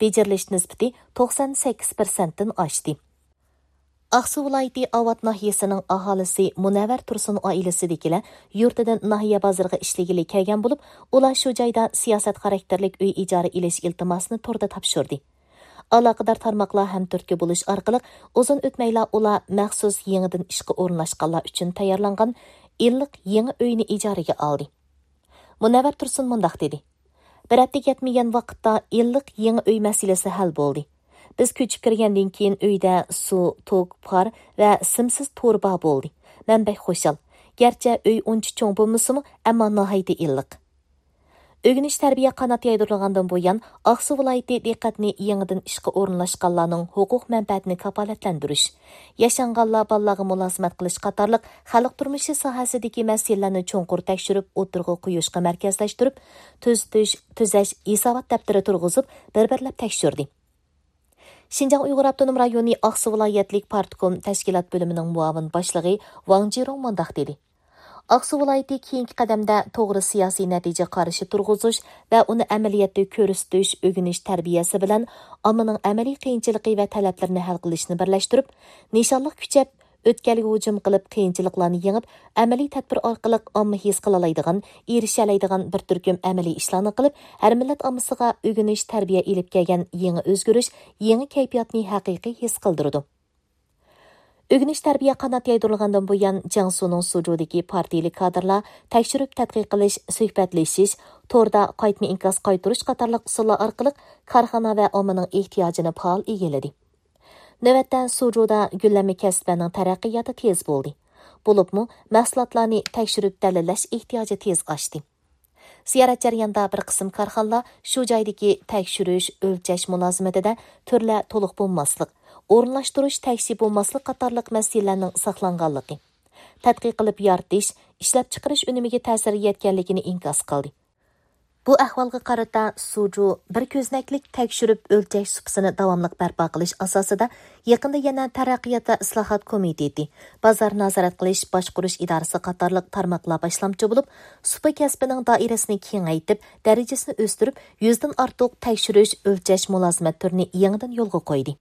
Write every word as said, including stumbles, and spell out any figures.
بېجىرىلىش نىسبىتى توقسان سەككىز پىرسەنتتىن ئاشتى. ئاقسۇ ۋىلايىتى ئاۋات ناھىيەسىنىڭ ئاھالىسى مۇنەۋۋەر تۇرسۇن ئائىلىسىدىكىلەر يۇرتىدىن ناھىيە بازىرىغا ئىشلىگىلى كەلگەن بولۇپ، ئۇلار شۇ جايدا سىياسەت خاراكتېرلىك ئۆي ئىجارە ئېلىش ئىلتىماسىنى توردا تاپشۇردى. ئالاقىدار تارماقلار ھەمتۈرتكە بولۇش ئارقىلىق ئۇزۇن ئۆتمەيلا ئۇلار مەخسۇس يېڭىدىن ئىشقا ئورۇنلاشقانلار ئۈچۈن تەييارلانغان ئىللىق يېڭى ئۆينى ئىجارىگە ئالدى. مۇنەۋۋەر تۇرسۇن مۇنداق دېدى: بىر ھەپتىگە يەتمىگەن ۋاقىتتا ئىللىق يېڭى ئۆي مەسىلىسى ھەل بولدى. بىز كۆچۈپ كىرگەندىن كېيىن ئۆيدە سۇ، توك، پار ۋە سىمسىز تورۇ بار بولدى. مەن بەك خۇشال. گەرچە ئۆي ئۇنچە چوڭ بولمىسىمۇ، ئەمما ناھايىتى ئىللىق. ئۆگىنىش تەربىيە قانات يايدۇرۇلغاندىن بۇيان، ئاقسۇ ۋىلايىتى دىققەتنى يېڭىدىن ئىشقا ئورۇنلاشقانلارنىڭ ھوقۇق مەنپەئەتىنى كاپالەتلەندۈرۈش، ياشانغانلار بالىلارغا مۇلازىمەت قىلىش قاتارلىق خەلق تۇرمۇشى ساھەسىدىكى مەسىلىلەرنى چوڭقۇر تەكشۈرۈپ ئوتتۇرىغا قويۇشقا مەركەزلەشتۈرۈپ، تۈزىتىش، تۈزەش، ھېسابات دەپتىرى تۇرغۇزۇپ، بىر-بىرلەپ تەكشۈردى. شىنجاڭ ئۇيغۇر ئاپتونوم رايونى ئاقسۇ ۋىلايەتلىك پارتكوم تەشكىلات بۆلۈمىنىڭ مۇئاۋىن باشلىقى ۋاڭ جىرۇڭ مۇنداق دېدى: ئاقسۇ ۋىلايىتى كېيىنكى قەدەمدە توغرا سىياسىي نەتىجە قارىشى تۇرغۇزۇش ۋە ئۇنى ئەمەلىيەتتە كۆرسىتىش، ئۆگىنىش تەربىيەسى بىلەن ئاممىنىڭ ئەمەلىي قىيىنچىلىقى ۋە تەلەپلىرىنى ھەل قىلىشنى بىرلەشتۈرۈپ، نىشانلىق كۈچەپ، ئۆتكەلگە ھۇجۇم قىلىپ، قىيىنچىلىقلارنى يېڭىپ، ئەمەلىي تەدبىر ئارقىلىق ئامما ھېس قىلالايدىغان، ئېرىشەلەيدىغان بىر تۈركۈم ئەمەلىي ئىشلارنى قىلىپ، ھەر مىللەت ئاممىسىغا ئۆگىنىش، تەربىيە ئېلىپ كەلگەن يېڭى ئۆزگىرىش، يېڭى كەيپىياتنى ھەقىقىي ھېس قىلدۇرىدۇ. ئۆگىنىش تەربىيە قانات يايدۇرۇلغاندىن بۇيان، جياڭسۇنىڭ سۇجۇدىكى پارتىيىلىك كادىرلار تەكشۈرۈپ تەتقىق قىلىش، سۆھبەتلىشىش، توردا قايتما ئىنكاس قايتۇرۇش قاتارلىق ئۇسۇللار ئارقىلىق كارخانا ۋە ئاممىنىڭ ئېھتىياجىنى پائال ئىگىلىدى. نۆۋەتتە، سۇجۇدا گۈللەنمە كەسىپلەرنىڭ تەرەققىياتى تېز بولدى. بولۇپمۇ، مەھسۇلاتلارنى تەكشۈرۈپ دەلىللەش ئېھتىياجى تېز ئاشتى. زىيارەت جەريانىدا بىر قىسىم كارخانىلار شۇ جايدىكى تەكشۈرۈش، ئۆلچەش مۇلازىمىتىدە تۈرلەر تولۇق بولماسلىق، ئورۇنلاشتۇرۇش تەكشى بولماسلىق قاتارلىق مەسىلىلەرنىڭ ساقلانغانلىقى، تەتقىق قىلىپ يارىتىش، ئىشلەپچىقىرىش ئۈنۈمىگە تەسىر يەتكەنلىكىنى ئىنكاس قىلدى. بۇ ئەھۋالغا قارىتا، سۇجۇ بىر كۆزنەكلىك تەكشۈرۈپ ئۆلچەش سۇپىسىنى داۋاملىق بەرپا قىلىش ئاساسىدا، يېقىندا يەنە تەرەققىيات ۋە ئىسلاھات كومىتېتى، بازار نازارەت قىلىش باشقۇرۇش ئىدارىسى قاتارلىق تارماقلار باشلامچى بولۇپ، سۇپا كەسپىنىڭ دائىرىسىنى كېڭەيتىپ، دەرىجىسىنى ئۆستۈرۈپ، يۈزدىن ئارتۇق تەكشۈرۈش، ئۆلچەش مۇلازىمەت تۈرىنى يېڭىدىن يولغا قويدى.